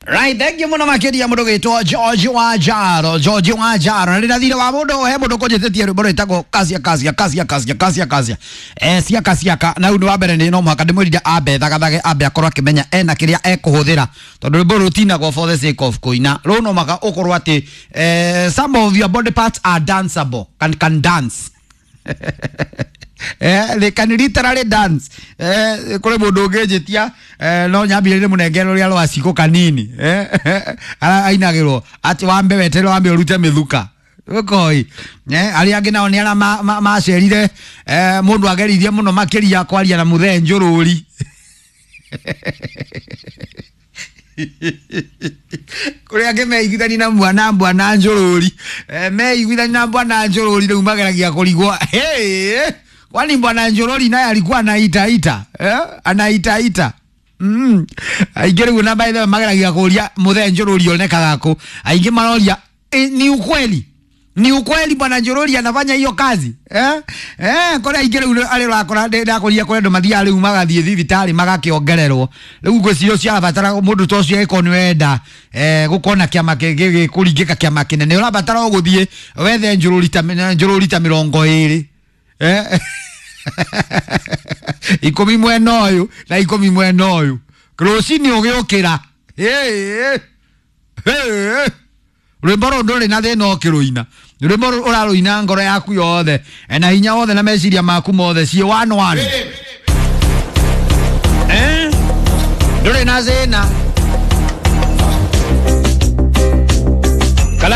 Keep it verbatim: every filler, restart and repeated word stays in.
Right, thank you muno makiria mundu gitwo George Wanjaro, George Wanjaro. Na rira thire wa mundu he mundu kunjititie rwimbo rwitagwo kasia kasia kasia kasia kasia kasia. Eh siaka siaka na undu wa mbere ni no muhaka ndimwirire ambe thagathage ambe akorwo akimenya ena kiria ekuhuthira tondu rwimbo rutinagwo for the sake of kuina. Ruu no maka ukorwo ati eh some of your body parts are danceable, can can dance. Eh, they can literally dance. Eh, kuri mundu unginjitia eh, no nyambire munengere ruria rwa ciko kanini eh, ara ainagirwo ati wambe weterere wambe urute mithuka ukoi eh, aria angi nao ni aria macerire eh, mundu ageririe muno makiria kwaria na muthee njururi kuri angi meiguithani na mwana bwana njururi eh, meiguithani na bwana njururi riu mageragia kurigwo hey, kwani bwana Njorori naye alikuwa anaita ita eh? Anaita ita mm. Aingĩ rĩu na by the way mageragia kũria muthee Njorori onekaga kũ. Aingĩ maroria e, ni ukweli ni ukweli bwana Njorori anafanya hiyo kazi eh? Eh, kũrĩa aingĩ rĩu arĩa ũrakora ndakũria kũrĩa andũ mathiaga rĩu magathiĩ thibitarĩ magakĩongererwo rĩu ngwĩciria ũcio arabatara mũndũ ta ũcio angĩkorwo nĩ wenda eh, gũkorwo na kĩama gĩkũringĩka kĩama kĩnene ũrabatara o gũthiĩ wethe Njorori ta Njorori ta mĩrongo ĩrĩ eh? Ikumi mwena ũyũ na ikumi mwena ũyũ rũcinĩ ũgĩũkĩra rwĩmbo rũu ndũrĩ na thĩna ũkĩrũina rwĩmbo rũu ũrarũina ngoro yaku yothe na hinya wothe na meciria maku mothe ciĩ one one eh ndũrĩ na thĩna.